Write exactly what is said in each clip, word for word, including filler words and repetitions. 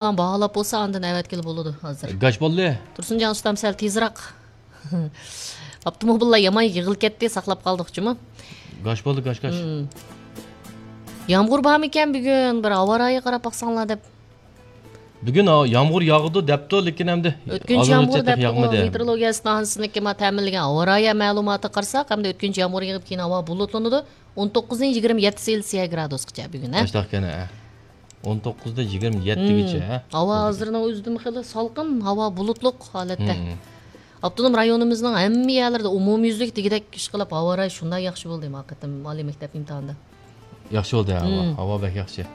باھالاپ بولسا، ئاندىن ئەۋەتكىلى بولىدۇ ھازىر. گاش بولدى. تۇرسۇنجان ئۇستام سەل تېزراق. ئاپتوموبىللار يامان يىغىلىپ كەتتى، ساقلاپ قالدۇق جۇمۇ. گاش بولدى، گاش، گاش. مم. يامغۇر بارمىكەن بۈگۈن؟ بىر ھاۋا رايىغا قاراپ باقساڭلار دەپ. بۈگۈن ھا-، يامغۇر ياغىدۇ دەپتۇ، لېكىن ئەمدى ئۆتكۈنچى ھازىرغىچە يامغۇر تېخى دەپتىغۇ، ياغمىدى. مېتېئورولوگىيە ئىستانسىسىنىڭكى ما تەمىنلىگەن ھاۋا رايى مەلۇماتىغا قارىساق، ئەمدى ئۆتكۈنچى يامغۇر يېغىپ، كېيىن ھاۋا بۇلۇتلىنىدۇ. ئون توققۇزدىن يىگىرمە يەتتە سېلسىيە گرادۇسقىچە بۈگۈن، ھە؟ ئاشتاقكەن، ھە. ئون توققۇزدىن يىگىرمە يەتتىگىچە، مم. ھە؟ ھاۋا ھازىرنىڭ ئۆزىدىمۇ خېلى سالقىن، ھاۋا بۇلۇتلۇق ھالەتتە. مم. ئاپتونوم رايونىمىزنىڭ ھەممە يەرلىرىدە ئومۇميۈزلۈك دېگۈدەك ئىشقىلىپ ھاۋا رايى شۇنداق ياخشى بولدى، ھەقىقەتەن ئالىي مەكتەپ ئىمتىھانىدا. ياخشى بولدى، ھاۋا. مم. ھاۋا بەك ياخشى.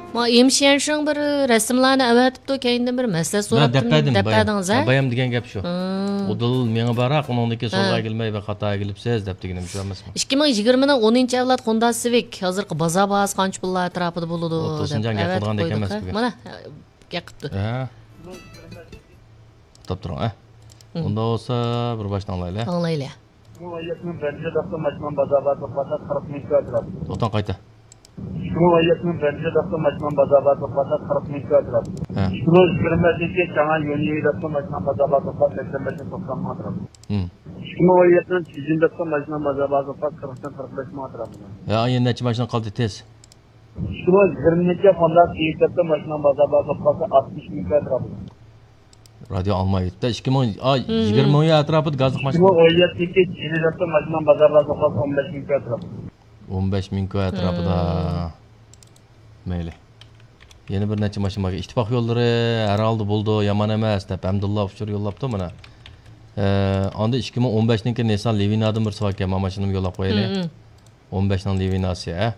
ما ئىم شيەنشىڭ بىر رەسىملارنى ئەۋەتىپتۇ، كەينىدىن بىر مەسلىھەت سوراپتىم، دەپ بەردىم، دەپ بايام. بەردىڭىز، ھە؟ ھە، بايام دېگەن گەپ شۇ. مم. ئۇدۇل مېڭىپ باراق، ئۇنىڭدىن كېيىن سولغا ھە. ئەگىلمەي بىر خاتا ئەگىلىپسىز دەپ دېگىنىم شۇ ئەمەسمۇ؟ ئىككى مىڭ يىگىرمىنىڭ ئونىنچى ئەۋلاد خوندا سىۋىك ھازىرقى بازار باھاسى قانچە پۇللار ئەتراپىدا بولىدۇ ئۇ دەپ تۇرسۇنجان گەپ ئەۋەتىپ قىلىدىغان گەپ قويدۇق، ئەمەس ھە؟ بۈگۈن. مانا، گەپ قىپتۇ. ھە. توختاپ تۇرۇڭ، ھە. مم. ئۇنداق بولسا، بىر باشتىن ئاڭلايلى. ئاڭلايلى. ئىككى مىڭ ئون يەتتىنىڭ بىرىنچى ھەپتە ماشىنا بازار باھاسى قىرىق مىڭ كىرا ئەتراپىدا. توختاڭ، قايتا. ئىككى مىڭ ئون يەتتىنىڭ بىرىنچى ھەپتە ماشىنا بازار باھاسى قىرىق مىڭ كىرا ئەتراپىدا. ھە. ئىككى مىڭ يىگىرمە بەشىنچى چاڭئەن يۈەنيۈەن ھەپتە ماشىنا بازار باھاسى سەكسەن بەش مىڭ توقسان مىڭ ئەتراپىدا. مم. ئىككى مىڭ ئون يەتتىنىڭ چىجىن ھەپتە ماشىنا بازار باھاسى قىرىقتىن قىرىق بەش مىڭ ئەتراپىدا. ھە، ئايەن نەچچە ماشىنا قالدى تېز؟ ئىككى مىڭ يىگىرمىنچى خوندا سېيىت ھەپتە ماشىنا بازار باھاسى ئاتمىش مىڭ كىرا ئەتراپىدا. رادىيو ئاڭلىمايۋېتىپتۇ. ئىككى مىڭ، ئا، مم. يىگىرمە مىڭ ئەتراپىدا گازلىق ماشىنا. ئىككى مىڭ ئون يەتتىنچى يىلى ماشىنا بازارلاردا قالسا ئون بەش مىڭ ئەتراپىدا. ئون بەش مىڭ ئەتراپىدا. مم. مەيلى. يەنە بىر نەچچە ماشىنا بار. ئىتتىپاق يوللىرى ھەر ھالدا بولىدۇ، يامان ئەمەس دەپ ھەمدۇللا ئۇچۇر يوللاپتۇ مانا. ئە، ئاندىن ئىككى مىڭ ئون بەشنىڭكى نىسسان لىۋىنادىن بىرسى باركەن، مانا ماشىنىمۇ يوللاپ قويايلى. مم، مم. ئون بەشنىڭ لىۋىناسى، ھە؟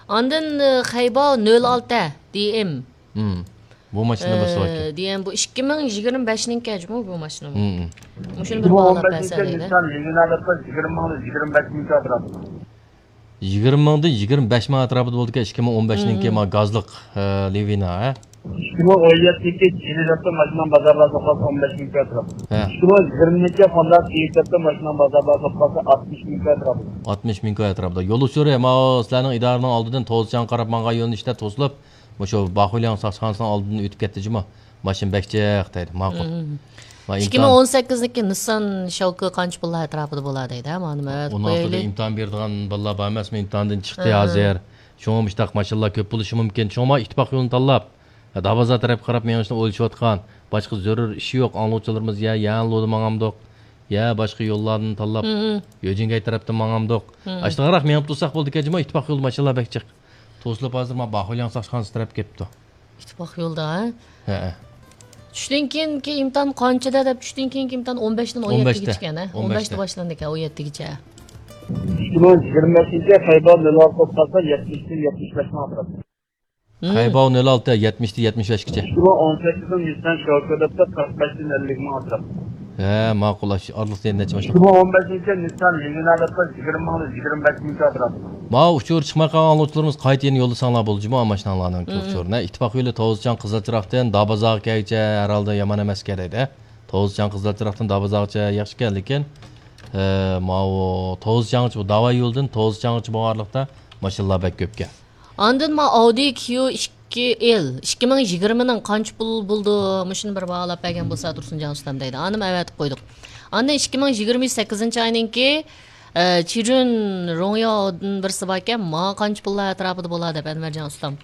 ئاندىن، ئە، خەيباۋ نۆل ئالتە دى ئېم. مم. بۇ ماشىنا بىر سوئالكەن. ئە، دى ئېم بۇ ئىككى مىڭ يىگىرمە بەشنىڭكى جۇمۇ بۇ ماشىنا بۇ. مم. مۇشۇنى بىر باھالاپ بەرسە دەيدۇ. نىسسان لىۋىنا دەپ يىگىرمە مىڭدىن يىگىرمە بەش مىڭ ئەتراپىدا. يىگىرمە مىڭدىن يىگىرمە بەش مىڭ ئەتراپىدا بولىدىكەن، ئىككى مىڭ ئون بەشنىڭكى مم. ما گازلىق، ئە، لىۋىنا، ھە؟ ئىككى مىڭ ئون يەتتىنچى يىلى ماشىنا بازارلاردا قالسا ئون بەش مىڭ ئەتراپىدا. ھە. ئىككى مىڭ يىگىرمىنچى يىلى ماشىنا بازارلاردا قالسا ئاتمىش مىڭ ئەتراپىدا. ئاتمىش مىڭ ئەتراپىدا. يول ئۇچۇرى، ماۋۇ سىلەرنىڭ ئىدارىنىڭ ئالدىدىن توزچاڭغا قاراپ ماڭغان يۆنىلىشتە توسۇلۇپ، مۇشۇ باخۇلياڭ ساقچىخانىسىنىڭ ئالدىدىن ئۆتۈپ كەتتى جۇمۇ. ماشىنا بەك جىق دەيدۇ. ماقۇل. مم. ۋە ئىككى مىڭ ئون سەككىزنىڭكى نىسسان شاۋكى قانچە پۇللار ئەتراپىدا بولا دەيدۇ، ھە؟ مانا مەۋەت ئون ئالتىدا قويايلى. ئىمتىھان بېرىدىغان بالىلار بار ئەمەسمۇ؟ ئىمتىھاندىن چىقتى ھە، ھە. ھازىر. شۇڭا مۇشتاق ماشىنىلار كۆپ بولۇشى مۇمكىن. شۇڭا ئىتتىپاق يولىنى تاللاپ، دابازار تەرەپكە قاراپ مېڭىشنى ئويلىشىۋاتقان، باشقا زۆرۈر ئىشى يوق ئاڭلىغۇچىلىرىمىز يا يەنلۇدا ماڭامدۇق، يا باشقا يوللاردىن تاللاپ، مم. يۆجىنگەي تەرەپتىن ماڭامدۇق. مم. ئاشتىغاراق مېڭىپ تۇرساق بولىدىكەن جۇمۇ، ئىتتىپاق يولىدا ماشىنىلار بەك جىق. توسۇلۇپ ھازىر مانا باخۇلياڭ ساقچىخانىسى تەرەپ كېلىپتۇ. ئىتتىپاق يولىدا، ھە؟ ھەئە. چۈشتىن كېيىنكى ئىمتىھان قانچىدا دەپ، چۈشتىن كېيىنكى ئىمتىھان ئون بەشتىن ئون يەتتىگىچىكەن، ھە؟ ئون بەشتە. ئون بەشتە باشلىنىدىكەن، ئون يەتتىگىچە. ئىككى مىڭ يىگىرمە بەشىنچى خەيباۋ نۆل ئالتە توپ قالسا يەتمىشتىن يەتمىش بەش مىڭ ئەتراپىدا. مم. خەيباۋ نۆل ئالتە، يەتمىشتىن يەتمىش بەشكىچە. ئىككى مىڭ ئون سەككىزنىڭ نىسسان شاۋكى دەپتە قىرىق بەشتىن ئەللىك مىڭ ئەتراپىدا. ھە، ماقۇل، ئاشۇ ئارىلىقتا يەنە نەچچە ماشىنا. ئىككى مىڭ ئون بەشىنچى نىسسان لىۋىنا دەپتە يىگىرمە مىڭدىن يىگىرمە بەش مىڭ ئەتراپىدا. ماۋۇ ئۇچۇر چىقماي قالغان ئاڭلىغۇچىلىرىمىز قايتا يەنە يوللىساڭلار بولدى جۇمۇ، ماشىناڭلارنىڭ مم. ئۇچۇرىنى. ئىتتىپاق يولى توزچاڭ قىزىلچىراقتىن دابازاغا كەلگۈچە ھەر ھالدا يامان ئەمەسكەن دەيدۇ. توزچاڭ قىزىلچىراقتىن دابازاغىچە ياخشىكەن، لېكىن، ئە، ماۋۇ توزچاڭغىچە، بۇ داۋا يولىدىن توزچاڭغىچە بولغانلىقتا ماشىنىلار بەك كۆپكەن. ئاندىن ما ئاۋدى كيۇ ئىككى ئېل ئىككى مىڭ يىگىرمىنىڭ قانچە پۇل بولىدۇ؟ مۇشۇنى بىر باھالاپ بەرگەن بولسا تۇرسۇنجان ئۇستام دەيدۇ. ئانىمۇ ئەۋەتىپ قويدۇق. ئاندىن ئىككى مىڭ يىگىرمە سەككىزىنچى ئاينىڭكى، ئە، چىجۈن رۇڭياۋدىن بىرسى باركەن، ما قانچە پۇللار ئەتراپىدا بولا دەپ ئەنۋەرجان ئۇستام.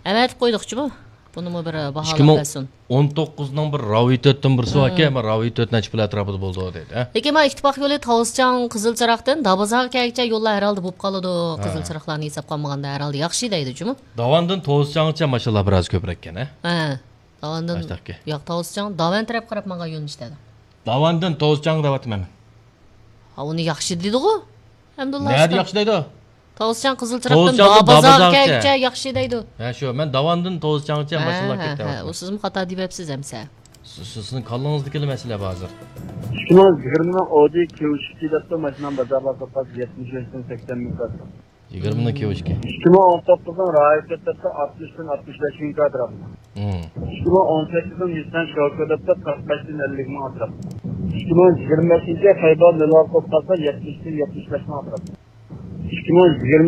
ئەۋەتىپ قويدۇقچۇمۇ؟ بۇنىمۇ بىر، ئە، باھالاپ بەرسۇن. ئىككى مىڭ ئون توققۇزنىڭ بىر راۋى تۆتتىن بىرسى باركەن، مم. ما راۋى تۆت نەچچە پۇل ئەتراپىدا بولىدۇ دەيدۇ، ھە؟ لېكىن ما ئىتتىپاق يولى توزچاڭ قىزىل چىراغدىن دابازاغا كەلگۈچە يوللار ھەر ھالدا بولۇپ قالىدۇ. ھە. قىزىل چىراغلارنى ھېساب قالمىغاندا ھەر ھالدا ياخشى دەيدۇ جۇمۇ. داۋاندىن توزچاڭغىچە ماشىنىلار بىراز كۆپرەككەن، ھە؟ ھە. داۋاندىن، ئاشتاقكى. ياق، توزچاڭ، داۋان تەرەپ قاراپ ماڭغان يۆنىلىشتە. داۋاندىن توزچاڭ دەۋاتىمەن. ھا، ئۇنى ياخشى دېدىغۇ. ھەمدۇللا نەدە ئۇستا. ياخشى دەيدۇ؟ توزچاڭ قىزىل چىراغدىن توزچاڭدىن دابازاغا دابازاغىچە. كەلگۈچە ياخشى دەيدۇ. ھە، شۇ، مەن داۋاندىن توزچاڭغىچە ھە، ماشىنىلار ھە، كەتتى ھە. دەۋاتىمەن. ئۇ سىزمۇ خاتا دېيىۋەپسىز ئەمسە. سىز، سىز، سىزنىڭ كاللىڭىزدىكىلا مەسىلە بار ھازىر. ئىككى مىڭ يىگىرمىنىڭ ئودى كيۇ ئىككى دەپتۇ ماشىنام بازارغا سوققان يەتمىش بەشتىن سەكسەن مىڭ كاتراپ. يىگىرمىنىڭ كيۇ ئىككى. ئىككى مىڭ ئون توققۇزنىڭ رايىت دەپتۇ ئاتمىشتىن ئاتمىش بەش مىڭ كاتراپ. مم. ئىككى مىڭ ئون سەككىزنىڭ نىسسان شوكى دەپتۇ قىرىق بەشتىن ئەللىك مىڭ ئەتراپ. ئىككى مىڭ يىگىرمە بەشىنچى خەيبەر نۆل ئالتە بولۇپ قالسا يەتمىشتىن يەتمىش بەش مىڭ ئەتراپ. ئىككى مىڭ يىگىرمە